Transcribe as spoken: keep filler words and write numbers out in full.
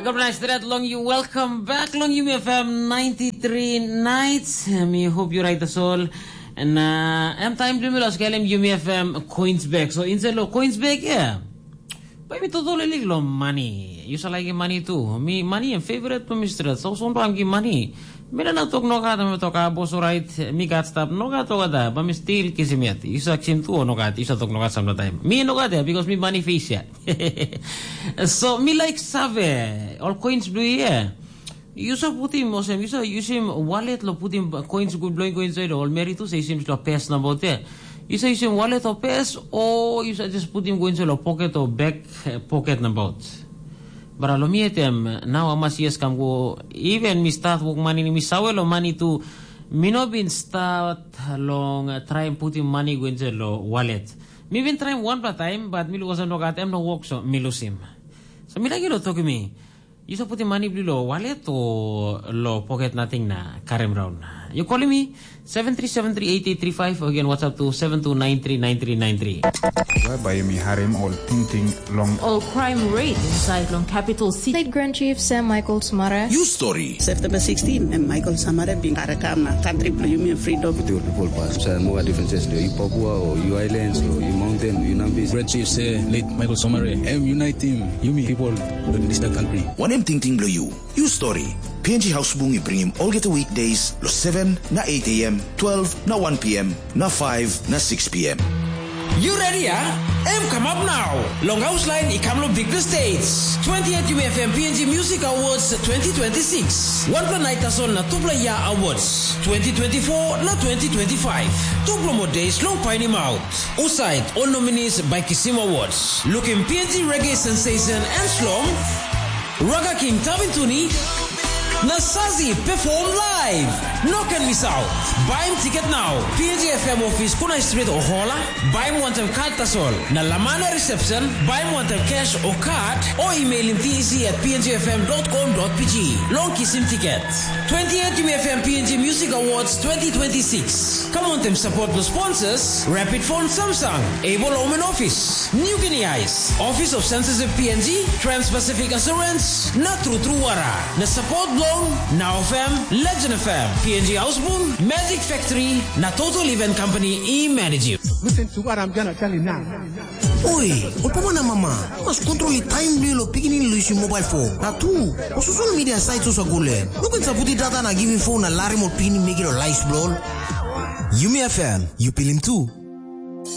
Gabnai stret long you, welcome back long Yumi F M ninety-three nights. Mi hope you right as all. And uh, em time dumi los kelem Yumi F M coins back. So inside lo coins back, yeah. Bai mi totally lik lo money. You sa like money too. Mi money em favorite to mi stret. So soon bam ki money. Mi na tok no gat, mi tok a boss, alright. Mi gat stap no gat, tok gat, ba mi still kisim yet. You sa kisim tu o no gat. You sa tok no gat samna time. Mi no gat ya because mi money face ya. So mi like save all coins blue here. You sa putim osem, you sa using wallet lo putim coins good blowing coins oil all meri tu sa using lo pes na bote. You sa using wallet o pes o you sa just putim coins lo pocket o back eh, pocket na bote. Bara lo mi etem now amas yes kam go even mi start work money mi sawe lo money tu mi no bin start long uh, try putim money go into lo wallet. Mi bin try one pla time but mi lukosa no gat em no work so mi lusim. So mi lagi lo toki mi. You sa putim money bli lo wallet o lo pocket nothing na karim round. You calling me seven three seven three eight eight three five again WhatsApp to seven two nine three nine three nine three. Whereby mi harim ol tingting long All crime rate inside long capital city. State Grand Chief Sam Michael Sumara. You story. September sixteen, and Michael Samare bin karakam na country blue Union Freedom. With your people pass. So more differences to you Papua or you islands or you mountain, you Nambis. Great chief say late Michael Somare, em unite him, Yumi people in this country. Wanem tingting bilong you? You story. P N G House Bung i bringim olgeta weekdays lo seven na eight a m, twelve na one p m, na five na six p m. You ready, ah? Em come up now. Long house line i kam lo big states. twenty-eight U F M P N G Music Awards twenty twenty-six. One per night tasol na two player awards. twenty twenty-four na twenty twenty-five. Two promo days long painim out. Usaid all nominees by Kisim Awards. Looking P N G reggae sensation and slom. Raga King Tabin Tuni na Sazi perform live. No can miss out. Baim ticket now. P N G F M office Kunai Street o Hola. Baim wantam card tasol. Na Lamana reception. Baim wantam cash o card o emailim T E C at P N G F M dot com dot P G. Long kisim ticket. twenty-eight U F M P N G Music Awards twenty twenty-six. Come on them support the sponsors. Rapid Phone Samsung. Able Omen Office. New Guinea Ice, Office of Censorship P N G, Trans-Pacific Assurance, na True True Wara, na support long Now F M, Legend F M, P N G Ausbun, Magic Factory, na Total Event Company i manage. Listen to what I'm gonna tell you now. Oi, ol papa na mama, mas kontrol i taim bilong lo pikinini lo yusim mobile phone. Na tu, o social media sites osa gule. No ken saputi data na giving phone na larim ol pikinini mekim lo lives bilong ol. Yumi F M, you pilim tu.